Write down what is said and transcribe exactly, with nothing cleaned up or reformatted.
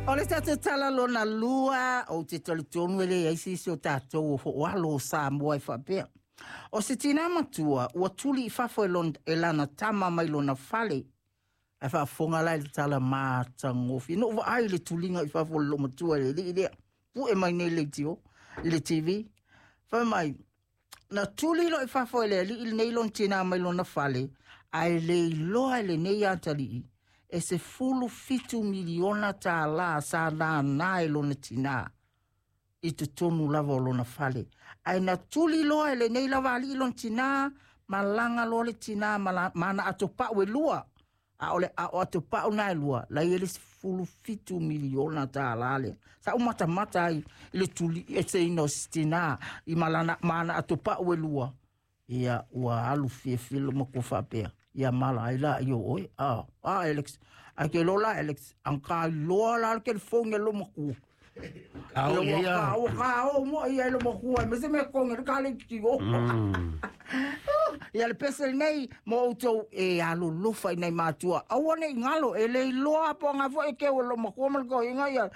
O le tatou tala lona lua, ou te talitonu e leai se isi o tatou o fo'oalo o Samoa e faapea. O se tinā matua ua tuli i fafo e, lon, e lana tama mai lona fale. Ae faafofoga la i le tala matagofie. Na ou vaai i le tuliga i fafo o le loomatua i le alii lea. Pu'e mai nei le leitio i le T V. Fai mai, na tuli loa i fafo e le alii lenei lona tinā mai lona fale, ae le iloa e lenei atalii e se fulu fitu miliona tālā sa nānā e lona tinā i totonu lava o lona fale. Ae na tuli loa e lenei lava alii lona tinā, malaga loa le tinā ma ana atopau e lua. A o le a o atopau na e lua, la ia le sefulu fitu miliona tālā lea. Sa ou matamata ai i le tuli eseina o se tinā i malana, ma ana atopau e lua. Ia ua alu fiafia le matua faapea. Ia mala ai la i o oe. Ah, ah Alex. Ai ke lola Alex. Ang ka loa la ke phone lo maku. Ka o ia. Ka o ka o mo ia lo maku. Me se me konge ka le ki o. Ia le pese nei mo outou e alolofa i nai matua. Aua nei ngalo e le iloa po nga fo e ke o lo maku ma ko inga ia.